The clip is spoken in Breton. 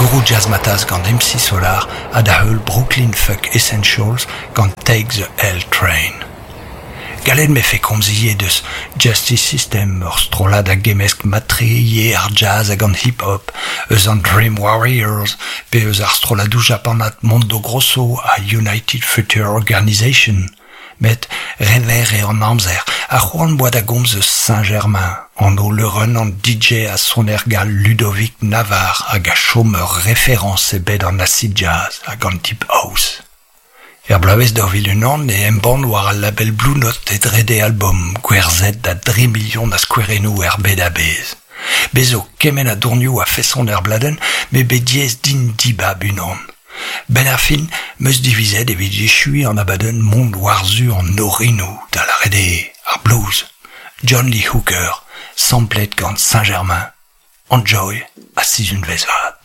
Guru Jazzmatazz gant MC Solaar ha da heul Brooklyn Funk Essentials gant Take the L Train. Gallet 'mefe komz ivez deus Justice System, ur strollad a gemmesk mat-tre ivez ar jazz hag an hip-hop, eus an Dream Warriors pe eus ar strolladoù japanat Mondo Grosso ha United Future Organization. Met re verr eo an amzer ha c'hoant 'boa da gomz eus Saint-Germain, anv leurenn an DJ ha soner gall Ludovic Navarre hag a chom ur referañs e bed an acid jazz hag an deep house. Er bloavezh 2001 e embann war al label Blue Note e drede albom, gwerzhet da dri milion a skouerennoù er bed a-bezh. Bez zo kement a dornioù a-feson er bladenn m'eo bet diaes din dibab unan. 'Benn ar fin 'm eus divizet evit echuiñ an abadenn mont war-zu an orinoù, da lâret eo ar blues. John Lee Hooker, samplet gant Saint-Germain. Enjoy ha sizhunvezh vat.